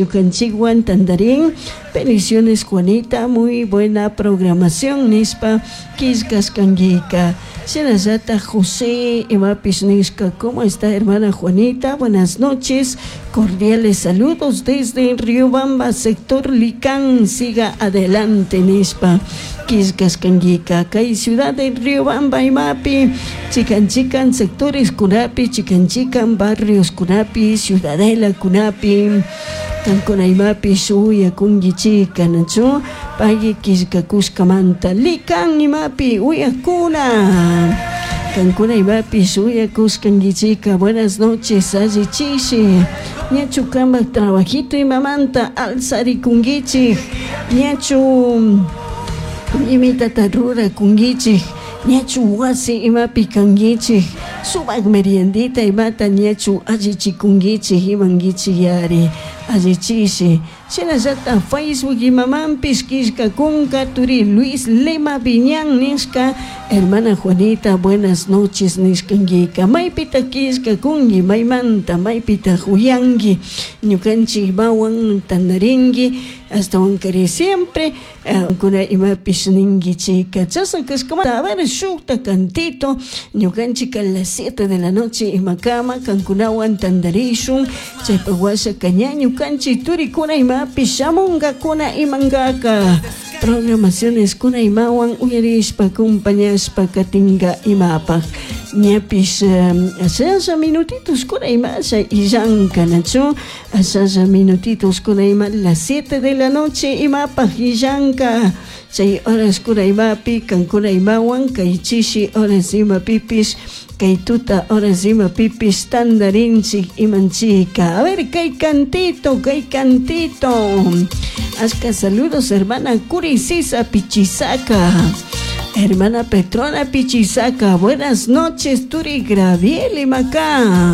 Ñukanchikwan tantarin. Bendiciones, Juanita, muy buena programación nishpa killkashkankika. Shinallatak José imapish nishka: "¿Cómo está, hermana Juanita? Buenas noches, cordiales saludos desde Riobamba, sector Licán, siga adelante" nishpa killkashkankika. Kay ciudad de Riobamba imapi chikan chikan sectores kunapi, chikan chikan barrios kunapi, ciudadela kunapi kankuna imapish uyakunkichika, nachu? Pagui killkakushkamanta. Likan imapi uyakuna kankuna imapish uyakushkankichika, buenas noches, allichishi. Ñachu kambak trabajito imamanta alzarikunkichik? Ñachu imitata rurakunkichik? Ñachu wasi imapi kankichik? Sumak meriendita imata ñachu allichikunkichik, imankichik yari? Allichishi. Shinallatak Facebook imamanpish killkakunka turi Luis Lema Viñan nishka: "Hermana Juanita, buenas noches" nishkankika. Maypita killkakunki? Maymanta, maypita uyanki? Ñukanchik imawan tantarinki ashtawankari siempre kuna imapish ninkichika. Chashna kashkamanta, a ver, shukta cantito. Ñukanchik a las 7 de la noche imakama kankunawan tantarishun. Chaypak washaka ña ñukanchik turikuna imapish shamunkakuna imankaka programaciones kuna imawan uyarishpa acompañashpa katinka imapak. Ñapish ashalla minutitos kuna imasha illanka, nachu? Ashalla minutitos kuna ima las 7 de la noche imapak illanka. Chay horas kuna imapi kankuna imawan kay chishi horas imapipish, kay tuta horas imapipish tantarinchik imanchika. A ver, kay cantito, kay cantito. Ashka saludos, hermana Curisisa Pichisaca. Hermana Petrona Pichisaca, buenas noches, Turi Graviel Macá.